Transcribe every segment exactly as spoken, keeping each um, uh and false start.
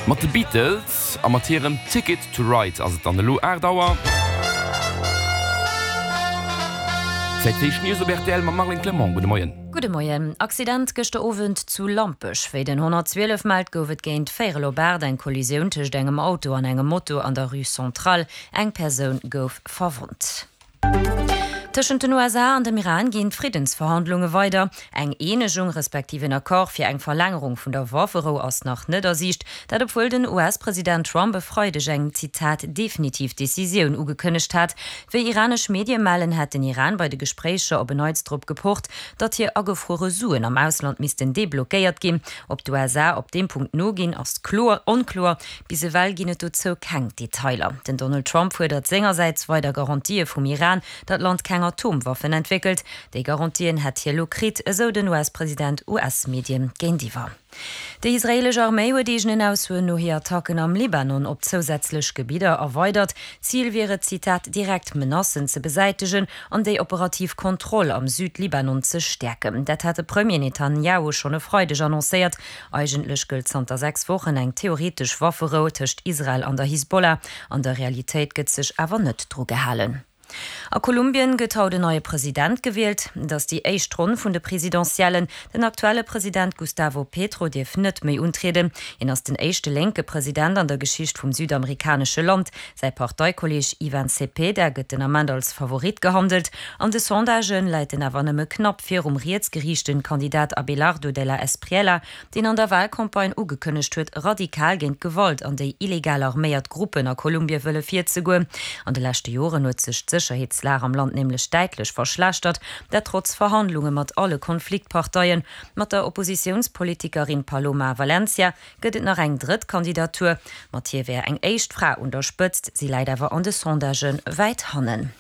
Mat de Beatles a mat hirem Ticket to Ride ass et dann elo aacht Auer. Zäit fir éischt News op rtl mam Marlène Clement. Gudde Moien. Gudde Moien. Accident gëschter Owend zu Lampech. Wéi den honnertzwielef mellt, gouf et géint véierel op aacht eng Kollisioun tëscht engem Auto an engem Moto an der Rue Centrale. Eng Persoun gouf verwonnt. Tëschent den U S A an dem Iran ginn d'Friddensverhandlunge weider. Eng Eenegung respektiv en Accord fir eng Verlängerung vun der Wafferou ass nach net a Siicht. Dat obwuel den U S-President Trump e Freideg eng, Zitat, definitiv Decisioun ugekënnegt hat. Wéi iranesch Medie mellen, hätt den Iran bei de Gespréicher op en Neits drop gepocht, datt hir agefruere Suen am Ausland missten deblockéiert ginn. Ob d'U S A op deem Punkt noginn, ass kloer onkloer. Bis ewell ginn et dozou keng Detailer. Den Donald Trump fuerdert sengersäits weider Garantië vum Iran, datt d'Land keng Atomwaffen entwéckelt. Déi Garantien hätt hie lo kritt, esou den U S-President U S-Medien géintiwwer. Déi israeelesch Arméi huet eegenen Aussoen no hir Attacken am Libanon op zousätzlech Gebidder erweidert. Zil wier et, Zitat, direkt Menacen ze besäitegen an déi operativ Kontroll am Südlibanon ze stäerken. Dat hat de Premier Netanjahu schonn e Freideg annoncéiert. Eigentlech gëllt zanter sechs Wochen eng theoretesch Wafferou tëscht Israel an der Hisbollah. An der Realitéit gëtt sech awer net dru gehalen. A Kolumbien gëtt haut en neie President gewielt. Et ass déi éischt Ronn vun de Presidentiellen. Den aktuelle President Gustavo Petro dierf net méi untrieden. Hien ass den éischte lénke President an der Geschicht vum südamerikanesche Land. Säi Parteikolleeg Ivan Cepeda gëtt den Ament als Favorit gehandelt. An de Sondagë läit en awer nëmme knapp virum rietsgeriichte Kandidat Abelardo de la Espriella, deen an der Walcampagne ugekënnegt huet, radikal géint d'Gewalt an déi illegal arméiert Gruppen a Kolumbie wëlle virzegoen. An de leschte Joren huet sech d'Sécherheetslag am Land nämlech däitlech verschlechtert, dat trotz Verhandlunge mat alle Konfliktparteien. Mat der Oppositiounspolitikerin Paloma Valencia gëtt et nach eng drëtt Kandidatur. Mat hir wär eng éischt Fra un der Spëtzt, si läit awer an de Sondagë wäit hannen.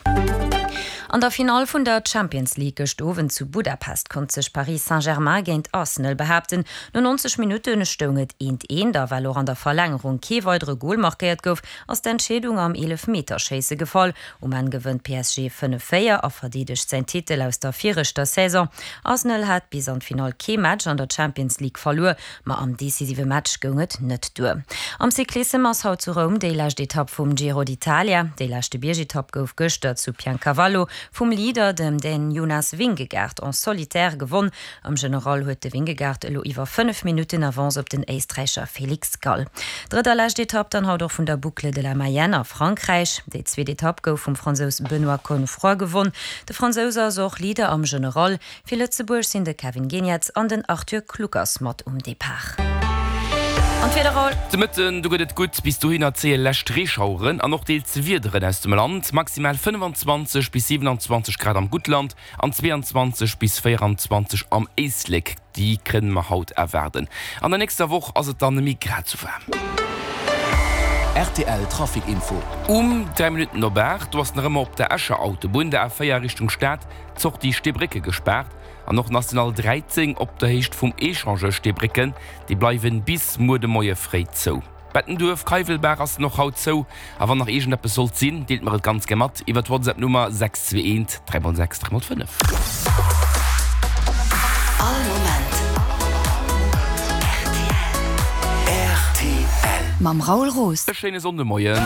An der Finall vun der Champions League gëscht Owend zu Budapest konnt sech Paris Saint-Germain géint Arsenal behaapten. No neunzeg Minutte stoung et eent eent a well och an der Verlängerung kee weidere Gol markéiert gouf, ass d'Entscheedung am Eelefmeterschéisse gefall. Um Enn gewënnt P S G fënnef véier a verdeedegt säin Titel aus der viregter Saison. Arsenal hat bis an d'Finall kee Match an der Champions League verluer, ma am decisive Match goung et net duer. Am Cyclissem ass haut zu Roum déi lescht Etapp vum Giro d'Italia. Déi leschte Biergetapp gouf gëschter zu Piancavallo vum Leader, dem Dän Jonas Vingegaard, en solitaire gewonn. Am General huet de Vingegaard elo iwwer fënnef Minutten Avance op den Éisträicher Felix Gall. Drëtt a lescht Etapp dann haut och vun der Boucle de la Mayenne a Frankräich. Déi zweet Etapp gouf vum Fransous Benoît Cosnefroy gewonn. De Fransous ass och Leader am General. Fir Lëtzebuerg sinn de Kevin Geniets an den Arthur Kluckers mat um Depart. An d'Wieder, Raoul. De Mëtten, do gëtt et gutt, bis dohinner zéie lescht Reeschaueren an och deels Wiederen aus dem Land. Maximal fënnfanzwanzeg bis siewenanzwanzeg Grad am Guttland an zweeanzwanzeg bis véieranzwanzeg am Éislek, déi kënne mer haut erwaarden. An der nächster Woch ass et dann neméi grad sou waarm. R T L Trafic Info. Um dräi Minutten op aacht, do ass nach ëmmer op der Escher Autobunn, der A véier Richtung Stad, d'Sortie Steebrécke gespaart an och National dräizéng op der Héicht vum Echangeur Steebrécken, déi bleiwen bis muer de Moie fréi zou. Bettenduerf, Keiwelbaach ass och haut zou a wann nach iergendeppes sollt sinn, deelt mer et ganz gär mat iwwer d'WhatsApp Nummer sechs zwee eent dräi mol sechs dräi mol fënnef. All Moment R T L. Mam Raoul Roos. E schéine Sonndemoien.